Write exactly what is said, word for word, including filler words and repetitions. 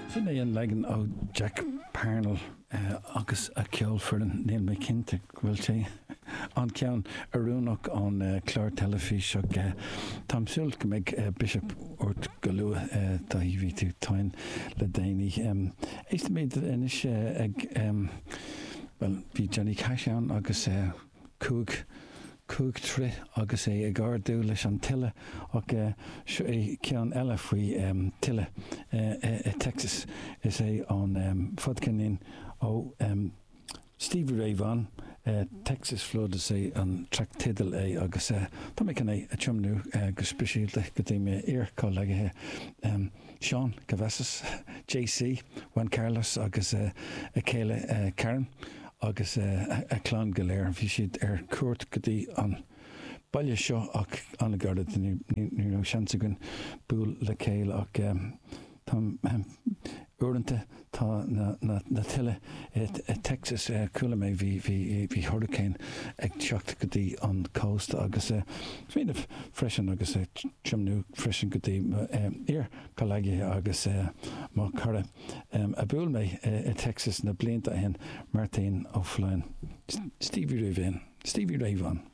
Sin é an leagan ó Jack Parnell agus a cheolfhoireann. Níl mé cinnte go bhfuil sé an ceann oiriúnach ón chlár teilifíse ach táim súil go mbeidh biseach ort go luath, Daithí, bhí tú tinn le déanaí. Éistfimid anois ag, bhuel, bhí Johnny Cash ann agus cúig, cúig troigh agus é ag ardú leis an tuile ach seo é ceann eile faoi tuile i Texas. Is é an fadcheirnín ó Stevie Ray Vaughan, Texas Flood is é an traic teideal é agus tá mé chun é a tiomnú go speisialta go dtí m'iar-chomhghleacaithe Seán Cavazos, JC, Juan Carlos agus a chéile Karen agus a clann go léir. Bhí siad ar cuairt go dtí an baile seo ach an-ghairid, ní raibh seans againn bualadh le chéile ach Tá, uaireanta tá na tuile i Texas, chuala mé bhí, bhí, bhí hurricane ag teacht go dtí an cósta agus smaoineamh freisin agus tiomnú freisin go dtí iar-chomhghleacaithe agus mo chara a bhuail mé i Texas na blianta ó shin, Martin Ó Floinn, Stevie Ray Vaughan, Stevie Ray Vaughan.